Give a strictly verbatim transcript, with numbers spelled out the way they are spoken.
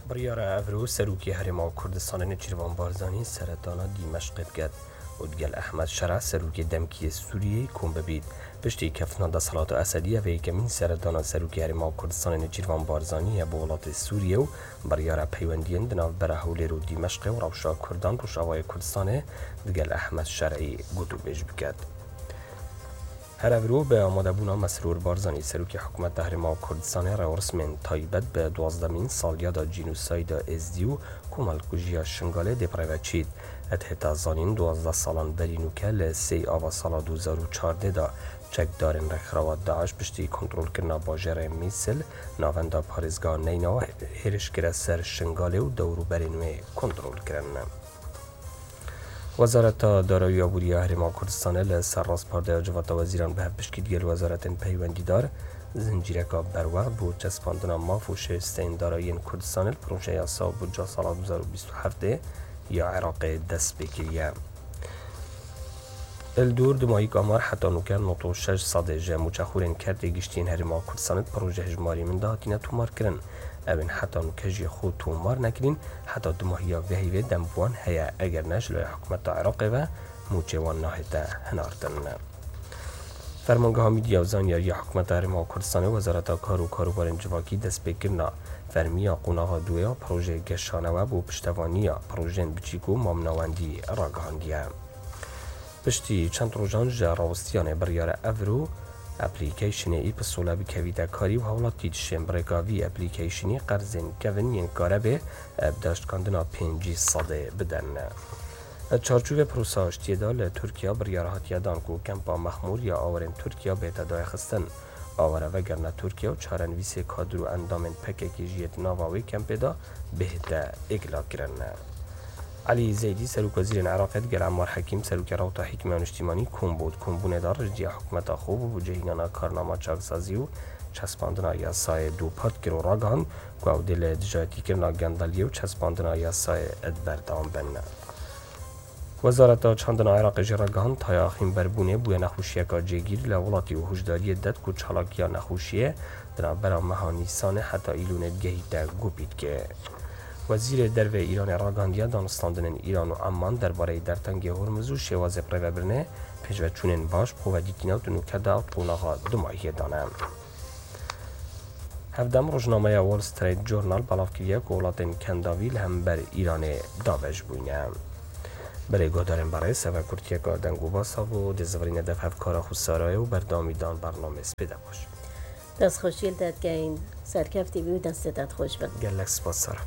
Biryara Evro Serokê Herêma Kurdistanê Nêçîrvan Barzanî seredana Dîmeşqê diket û digel Ehmed Şera Serokê demkî yê Sûriyeyê kom bibît. Piştî keftina desthilata Esedî, ev ê yekemîn seredana Serokê Herêma Kurdistanê Nêçîrvan Barzanî ye bo welatê Sûriyê û biryara peywendiyên di navbera Hewlêr û Dîmeşqê û rewşa Kurdan Rojavayê Kurdistanê digel Ehmed Şerî gotûbêj biket. Her evro bi amadebûna Mesrûr Barzanî, Serokê Hikûmeta Herêma Kurdistanê, rêwresmên taybet bi duwazdemîn salyada cînosayda Êzdî û komelkujiya Şingalê dê bi rê ve çît. Ed hêta zanîn, duwazdeh salan berî nûke li sêy ava sala du hezar û çardeh de çekdarên rêkxirawa DAIŞ piştî kontrolkirina bajêrê Mîsil, navenda parêzgeha Neynawa, hêriş kire ser Şingalê û dewrûberên wê kontrol kirin. Wezareta Darayî û Aborî ya Herêma Kurdistanê li ser rastpardeya Civata Wezîran bi hevpişkî digel wezaretên peywendîdar zincîreka berwext bo çespandina maf û şayisteyên darayiyên Kurdistanê li projeya yasa û budca sala du hezar û bîst û heftê ya Iraqê dest pê kiriye. Li dûr dumahîk amar heta nûke nod û şeş sedê ji mûçexûrên kertê giştî yên Herêma Kurdistanê di proje hejmarî min de hatine tomarkirin. Ew ên heta nûke jî xwe tomar nekirîn, heta dumahiya vê heyvê dem bi wan heye, eger ne ji laya hikûmeta Iraqê ve mûçê wan nahête hinartin. Fermangeha Medya û Zanyariya Hikûmeta Herêma Kurdistanê, Wezareta Kar û Karûbarên Civakî destpêkirina fermî ya qonaxa duyê ya projeyê geşanewe bo piştevaniya projeyên biçîk û mamnawendî ragihandiye. Piştî çend rojan ji rawistiyanê biryara Evro application-ê e-Pistole bikevîte karî û hawlatî dişên bi rêka vî application-ê qerzên kevin yên karebê bi daştkandina pêncî sedê bidin. Di çarçovê prosa aştiyê de li Tirkiye biryar hatiye dan ku kempa Mexmûr ya awarên Tirkiye bête dayixistin. Aware vegerine Tirkiye û çarenivîsê kadir û endamên P K K jî yê di nava wê kempê de bihête îglakirin. Elî Zeydî, Serokwezîrên Iraqê, digel Emmar Hekîm, Serokê Rewta Hikmiya Niştîmanî, kom bû. Di kombûnê de rêjdiya hikûmeta xwe bo bicihînana karnama çaksazî û çespandina yasayê dûpert kir û ragihand ku ew dê li dijayetîkirina gendeliyê û çespandina yasayê di berdewam bin. Wezareta Çandina Iraqê jî ragihand, taya xînberbûnê bûye nexweşiyeka cêgîr li welatî û hişdariyê didet ku çalakiya nexweşiyê di navbera meha Nîsanê heta Îlûnê digehîte Gopîtkê. Wezîrê Derve Îranê ragihandiye danûstandinên Îran û Emman derbareyî dertengê Hormuz û şêwazê birêvebirinê pêşveçûnên baş bi xwe ve dîtîne û di nûke de qonaxa dumahiyê dane. Hevdem, rojnameya Wall Street Journal belav kiriye ku welatên Kendavî li hember Îranê dabeş bûyne. Belê guhdarên berêz, ev kurtiyeka deng û basa bû, dê zivirîne dev hevkara xwe Sarayê û berdewamî dan bernamê spê de baş. Destxweşî li te dikeyin, serkevtî bî û destê te dixweş bin. Gelek spas Sara.